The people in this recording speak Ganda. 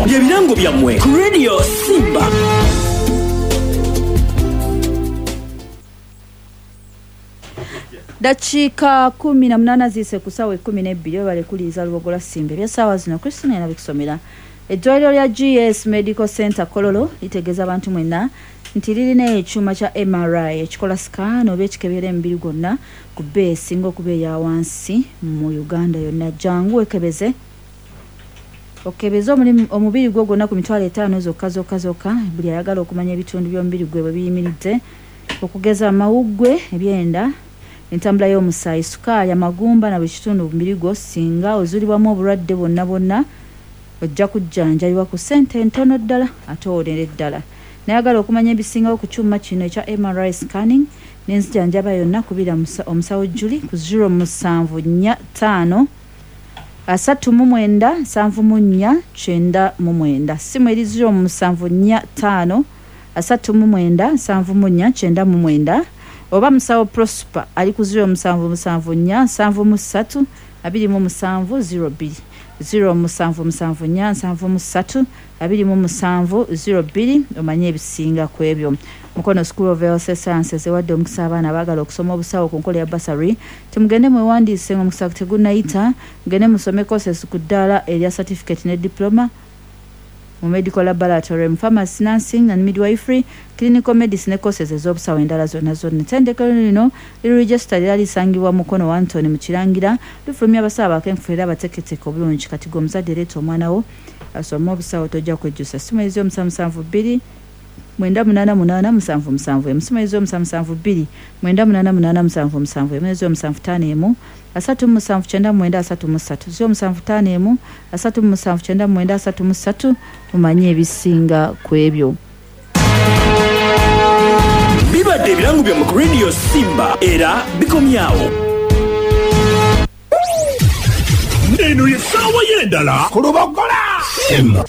Bye birango byammwe ku Radio Simba. Dakiika 18 ziise ku ssaawa 12. Webale kuliiza Lubogola Simba. Eby'essaawa zino Christina era bikusomera. Eddwaliro lya GS Medical Center Kololo litegeeza abantu mwenna nti lirina ekyuma kya MRI ekikola scan oba ekikebera emibiri gwonna ku bbeeyi esinga okuba eya wansi mu Uganda yonna. Jangu wekebeze okebeze omubiri gwo gwonna ku 50,000 zokka zokka zokka. Buli ayagala okumanya ebitundu by'omubiri gwe bwe biyimiridde, okugeza amawuggwe, ebyenda, entambula y'omusaayi, sukaali, amagumba na buli kitundu mu mubiri gwo, singa ozuulibwamu obulwadde bwonna bwonna ojja kujjanjabibwa ku ssente ntono ddala ate owonere ddala. Nayagala okumanya ebisingawo ku kyuma kino ekya MRI scanning n'enzijanjaba yonna, kubira omusawo Julie ku 0745 39 74 99. Ssimu eri 0745 39 74 99, oba musawo Prosper ali ku 0774 73 27 02, 0774 73 27 02, omanye ebisinga ku ebyo. Mukono School of Health Sciences ewadde omukisa abaana abaagala okusoma obusawo ku nkola ya bursary. Timugende mwewandiise ng'omukisa tegunnayita. Mugende musome courses ku ddaala erya certificate ne diploma mu medical laboratory, mu pharmacy, nursing and midwifery, clinical medicine ne courses ez'obusawo endala zonna zonna. Ettendekero lino liri registered era lisangibwa Mukono Wantoni mu Kirangira. Lifulumya abasawo abakenkufu era abateeketeeke obulungi. Kati gwe omuzadde, leeta omwana wo asome obusawo, tojja kwejjusa. Simu eri 0772 988 771, simu eri 0772 988 771, 0751 37 99 33, 0751 37 99 33, mumanye ebisinga ku ebyo. Bibadde ebirango byammwe ku Radio Simba era bikomyawo. Eno ye ssaawa y'endala ku Lubogola. Simba.